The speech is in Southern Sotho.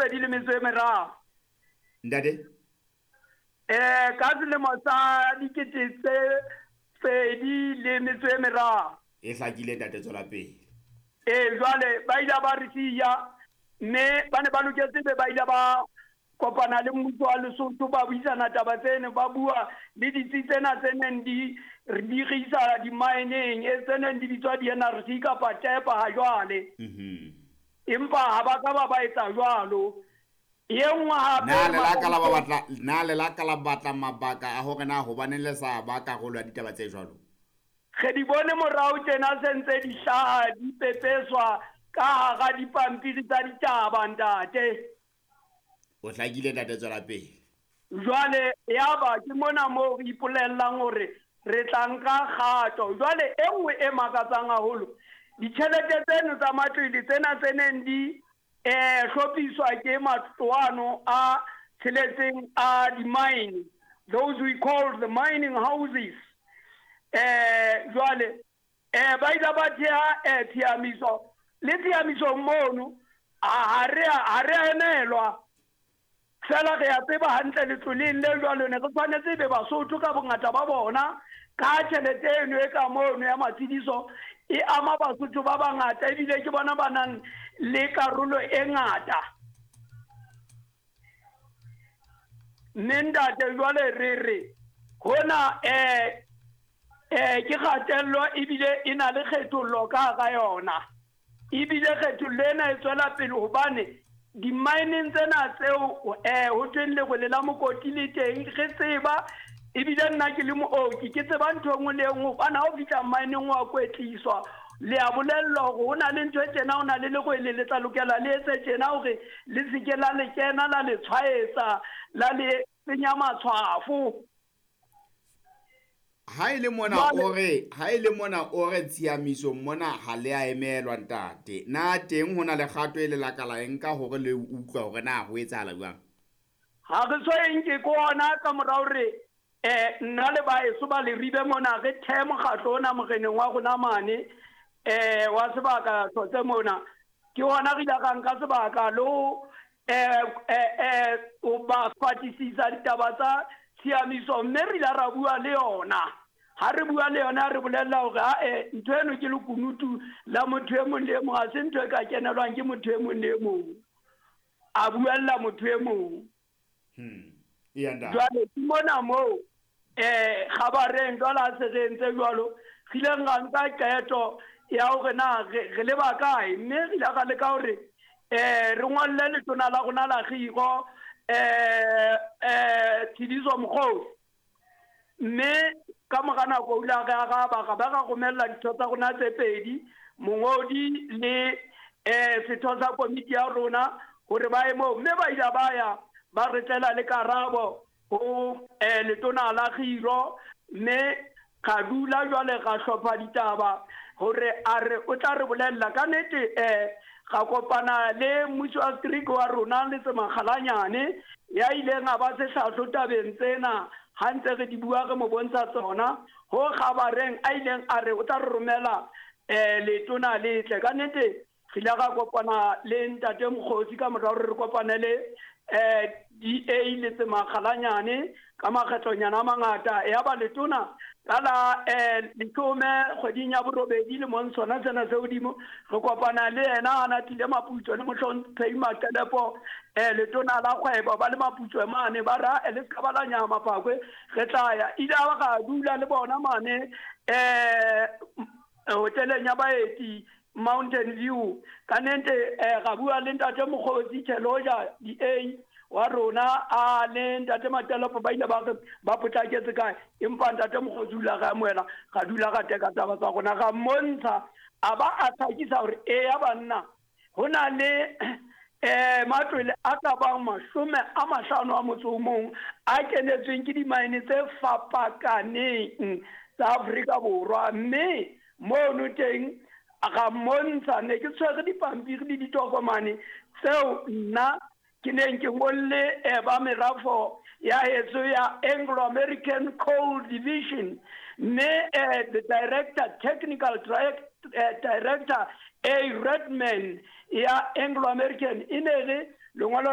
2023. Ntate? Ka selemo sa 2023. E hlakile ntate, tswela pele. Jwale ba ile ba re siya, mme ba ne ba loketse be ba ile ba kopana le mmuso wa Lesotho, ba buisana taba tseno, ba bua le ditsi tsena tse neng di re dirisa di-mineng, e tse neng di bitswa di-NRC kapa TEPA ha jwale. Empa ha ba ka ba ba etsa jwalo. E nngwe hape Na le la ka la ba batla, na le la ka la batla mabaka a hore na hobaneng le sa ba karolo ya ditaba tse jwalo? Re di bone morao tjena se ntse di hlaha, di pepeswa ka hara dipampiri tsa ditaba ntate. O hlakile ntate, tswela pele. Jwale yaba ke mona moo re ipolellang hore re tla nka kgato. Jwale e nngwe e makatsang haholo, ditjhelete tseno tsa matlwele tsena tse neng di hlophiswa ke matloano a tsheletseng a di-mine, those we call the mining houses. Jwale ba ile ba theha tshiamiso, le tshiamisong mono ha re a emelwa. Fela re a tseba hantle letloleng le jwalo ne re tshwanetse be Basotho ka bongata ba bona, ka tjhelete eno e ka mono ya matshediso e ama Basotho ba bangata, ebile ke bona ba nang le karolo e ngata. Mme ntate jwale re re hona ke kgatello ebile e na le kgethollo ka hara yona. Ebile kgethollo ena e tswela pele hobane di-mineng tsena tseo ho thweng lerole la mokoti le teng, re tseba ebile nna ke le mooki ke tseba ntho e nngwe le e nngwe, hobane ha o fihla mineng wa kwetliswa, le a bolellwa hore ho na le ntho e tjena, ho na le lerwele le tla lokela le etse tjena hore le se ke la le kena la le tshwaetsa, la le senya matshwafo. Ha e le mona o re, ha e le mona o re tshiamiso mona ha le a emelwa ntate. Na teng ho na le kgato e le la ka la e nka hore le utlwa hore na ho etsahala jwang? Ha re so e nke ke hona ka mora hore nna le baeso ba Leribe mona re thehe mokgatlo ona moreneng wa rona mane wa sebaka Hlotse mona. Ke hona re ile ra nka sebaka le ho o ba fatisisa ditaba tsa tshiamiso, mme re ile ra bua le yona. Ha re bua le yona re bolella hore ae ntho eno ke lekunutu la motho e mong le e mong, ha se ntho e ka kenelwang ke motho e mong le e mong. A buella motho e mong. Jwale ke mona moo kgabareng jwale ha se re entse jwalo, re ileng ra nka qeto ya hore na re leba kae, mme re ile ra leka hore re ngolle letona la rona la kgiro Tshidiso Mokgosi, mme ka mora nako o ile a re araba, ra ba ra romella ditho tsa rona tse pedi, mongodi le setho sa komiti ya rona hore ba ye moo, mme ba ile ba ya ba re tlela le karabo ho letona la kgiro, mme ra dula jwale ra hlopha ditaba hore a re o tla re bolella ka nnete. Ra kopana le mmusi wa setereke wa rona le Tsemakgalanyane ya ileng a ba sehlahlo tabeng tsena ha ntse re di bua re mo bontsha tsona, ho kgabareng a ileng a re o tla re romela letona le tle. Ka nnete re ile ra kopana le ntate Mokgosi ka mora hore re kopane le DA le Tsemakgalanyane ka makgetlonyana a mangata. Ya ba letona ka la 10 kgweding ya 8 lemong sona sena se hodimo, re kopana le yena a na tlile Maputso le mohlomphehi Maqelepo letona la kgwebo ba le Maputso mane, ba ra le se ka ba la nyama Phakwe, re tla ya. Ile a ra dula le bona mane hoteleng ya baeti Mountain View. Ka nnete ra bua le ntate Mokgosi Theloja DA wa rona a le ntate Maqelepo, ba ile ba re ba potlaketse kae, empa ntate Mokgosi o ile a re amohela, ra dula ra teka taba tsa rona, ra mmontsha, a ba a tlhakisa hore eya banna ho na le matlwele a ka bang 51 a kenetsweng ke dimaene tse fapakaneng tsa Afrika Borwa, mme mono teng ra mmontsha ne ke tshwere dipampiri le ditokomane tseo nna ke neng ke ngolle ba merafo ya heso ya Anglo American Coal Division, mme the director, technical director A Redman ya Anglo American e ne re lengolo